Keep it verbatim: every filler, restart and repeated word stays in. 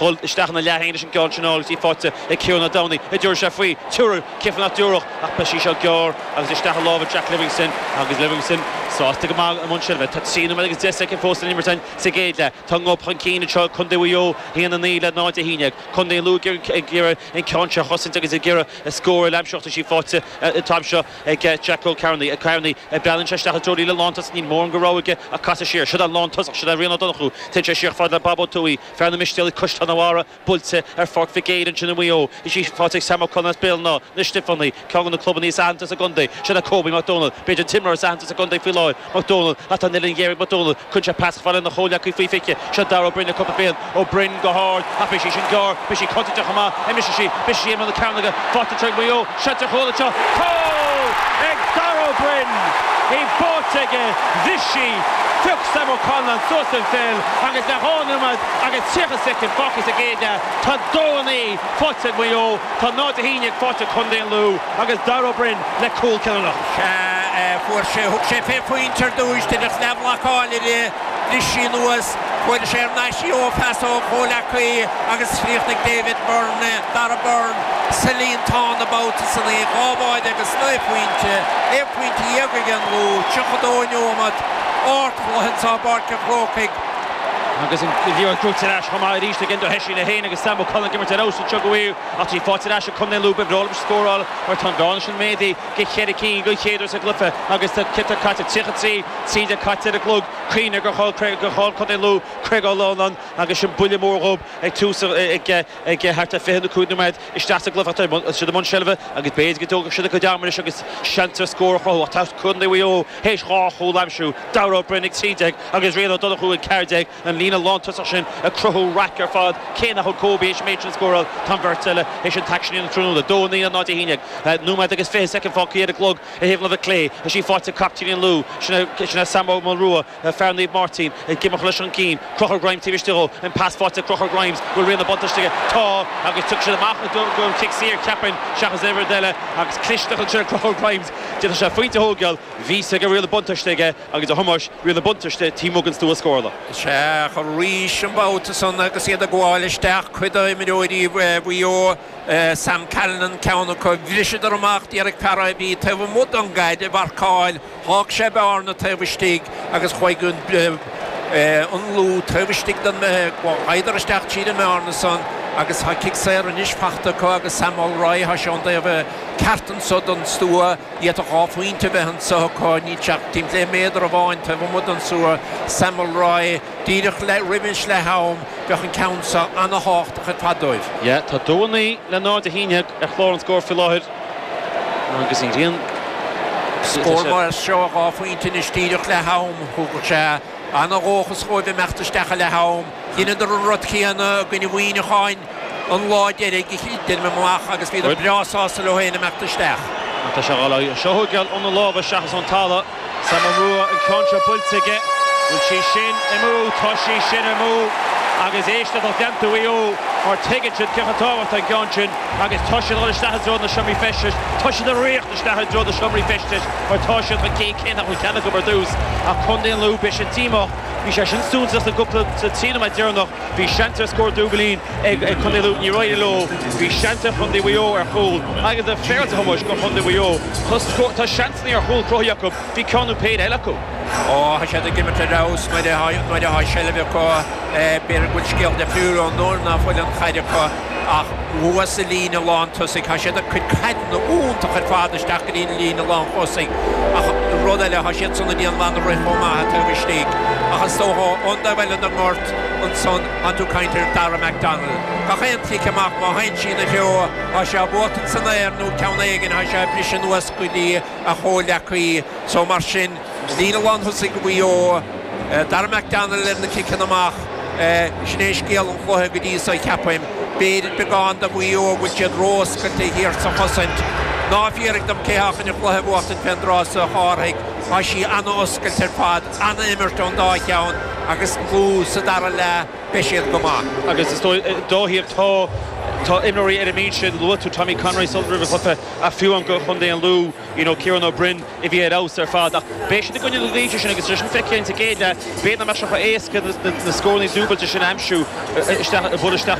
Dhul isteach ina leath féin leis an gceann sin agus í faighte ag Ciarán Ó Domhnaigh. An dtabharfaidh sé faoi. Tabharfaidh. Cén fáth nach dtabharfadh ach beidh sí seo gearr agus isteach i lámha Jack Livingston agus Livingston sásta go maith i mbun seilbhe. Tá trí nóiméad agus deich soicind fós san imirt sa gcéad leath. Tá an gob chun cinn anseo Contae Mhaigh Eo haon a naoi le náid a haon déag. Contae an Lú ag iarraidh an ceann seo a chosaint agus ag iarraidh a scór a aimsiú. Tá sí faighte an t-am seo ag Jack Ó Cearnaigh. Cearnaigh breathnaíonn sé isteach i dtreo líne lántosach níl mórán de rogha aige ach casadh siar. Seo an lántosach seo Rian Ó Donnchú. Téann sé siar fad le Bob Ó Tuaí, fear na Mistéalaigh Caisleán an Bharraigh buailte ar Pháirc Mhic Éil ansin i Maigh Eo. Is í faighte ag Sam O'Connor as Béal an Átha, na Stiofánaigh, ceann de na clubanna is aitheanta sa gcontae. Seo le Kobe McDonald, b'fhéidir an t-imreoir is aitheanta sa gcontae faoi láthair. McDonald atá an uillinn ghéar ag McDonald, cuireann sé pas fada lena chomhghleacaí faoi fiche. Seo Dara Ó Broin le cúpla bliain. Ó Broin go hard ach beidh sí sin gearr, beidh sí contúirteach chomh maith. Imreoidh sí, beidh sí i mbun na cearnóige, faighte ag Maigh Eo, seans ar chúl anseo. Cúl ag Dara Ó Broin! Í faighte aige, bhris sí, phioc Sam O'Connor suas an pheil agus le dhá nóiméad agus tríocha soicind fágtha sa gcéad leath, tá dó a naoi faighte ag Maigh Eo, tá náid a haon déag faighte ag Contae an Lú agus Dara Ó Broin le cúl cinniúnach. Sea, fuair sé, thug sé fé phointe ar dtúis, deineadh leathbhlocáil uirthi, bhris sí anuas, fuair sé thar n-ais í ó phas ó chomhghleacaí agus chríochnaigh David Byrne, Dara Byrne, sa líontán an babhta san í, dhá bháide agus naoi phointe, aon phointe dhéag ag an Lú, tríocha dó neomat, ardchluiche anseo i bPáirc an Chrócaigh. Agus an liathróid buaite ar ais chomh maith arís ag Enda Hession é féin agus Sam O'Connor ag imirt ar fheabhas anseo go bhfuil ach tá sí faighte ar ais ag Contae an Lú ba bhreá leo scóráil mar tá an bhearna sin méadaithe go cheithre cinn den chéad uair sa gcluiche agus tá cite caite tríocha trí trí déag caite ar an gclog cuimhnigh gur chaill gur chaill Contae an Lú Craig O'Loughlin agus sin buille mór dhóibh ag tús ag ag thart ar fiche nó cúig nóiméad isteach sa gcluiche tá siad i mbun seilbhe agus b'fhéidir go dtógfaidh siad a gcuid ama anois agus seans ar scór a chruthú ach tá Contae Mhaigh Eo théis dhá chúl a aimsiú Dara Ó Broin ag trí déag agus Rian Ó Donnchú ag ceathair déag an líne lántosach sin ag cruthú raic ar fad cé nach bhfuil Kobe théis an méid sin scóráil tá an bheirt eile théis an t-aicsean an tráthnóna dó naoi náid a haon déag nóiméad agus fiche soicind fágtha ar an gclog i thaobh na clé tá sí faighte captaen an Lú sin sin Sam Ó Rua fear Naomh Máirtín ag imeacht leis an gcinn Conchúr Grimes taobh istigh an pas faighte Conchúr Grimes bhfuil rian na buntáiste tá agus tugann siad amach go cic saor ceapaim seachas aon rud eile agus clisteach ansin Conchúr Grimes Déanann sé pointe a thógáil bhí sé go riail na buntáiste aige agus a Thomáis riail na buntáiste tí mugan stú a scórála. Sé arís an babhta san agus iad ag gabháil isteach cuid d'imreoirí Mhaigh Eo Sam Callinan ceann acu bhriseadar amach d'iarraidh fear a bhí taobh amuigh den gcaid a mharcáil thóg sé bearna taobh istigh agus chuaigh an an Lú taobh istigh den ghaidar isteach tríd an mbearna san agus tá cic saor anois faighte acu agus Sam Mulroy tá sé an taobh ceart anseo don stua iad a dhá phointe bheith anseo acu níl sé timpeall méadar amháin taobh amuigh den stua Sam Mulroy díreach le roimis le ham bheadh an ceann seo an-tábhachtach ar fad dóibh. Ja tá dó a naoi le náid a haon déag ar chlár an scór faoi láthair agus an ghrian Scór mar seo dhá phointe anois díreach le ham thug sé an-dhóchas dóibh imeacht isteach le ham Dheineadar an rud céanna i gcoinne Mhuineacháin an lá deiridh déanam amach agus bhí breá sásta leo féin imeacht isteach. Tá sé seo thugeall ón lámh seachas ón talamh Sam Rua an ceann seo buailte aige bhfuil sí sin amú tá sí sin amú agus éiste tá leanta Mhaigh Eo mar tuigeann siad cé chomh tábhachtach an ceann sin agus tá siad isteach i dtreo na seomraí feistis tá siad ag rith isteach i dtreo na seomraí feistis mar tá siad chun cinn cé nach bhfuil ceann acu ar dtús ach Contae an Lú beidh siad díomách bhí sé sin suntasach sa gcúpla sa trí nóiméad deireanach bhí seans ar scór dúbailín ag ag Contae Lú níor éirigh leo bhí seans ar Chontae Mhaigh Eo ar chúl agus a féilte Thomáis go Contae Mhaigh Eo tá seansanna ar chúl cruthaithe acu bhí ceann nó péire eile acu. Ó tá siad ag imirt ar fheabhas nuair atá seilbh acu b'fhéidir go bhfuil scéal difriúil ón nuair nach bhfuil an chaid acu ach thuas sa líne lántosaigh tá siad ag cur caideanna iontach ar fad isteach go dtí an líne lántosaigh ach rud eile tá siad san ag déanamh an-rith chomh maith taobh istigh ach is dócha ón dtaobh eile den ngort ansan tá tú ag caint ar Dara McDonald. Gach aon chic amach má théann sí ina threo tá sé buailte san aer nó ceann éigin tá sé briseadh anuas go dtí a chomhghleacaí so mar sin líne lántosaigh Mhaigh Eo Dara McDonald ar na ciceanna amach sin é scéal an chluiche go dtí seo ceapaim b'fhéidir beagán do Mhaigh Eo bhfuil siad róoscailte thiar sa chosaint. Ná fiafraigh díom cé há chun an cluiche a bhuachtaint fén dtráth seo a Chárthaigh tá sí an-oscailte ar fad an-imirt ón dá cheann agus Lú sa dara leath beidh siad go maith. Agus is dóigh tá tá imreoirí ar an mbinse luaigh tú Tommy Conroy sul roimh an chluiche a fiú an go Chontae an Lú you know, Kieran Ó Broin a bhí ar fheabhas ar fad ach beidh siad i gcoinne na Laoise sin agus sin feicthe sa gcéad leath b'fhéidir nach mbeadh sé chomh éasca na scóranna dúbailte sin a aimsiú isteach bhil isteach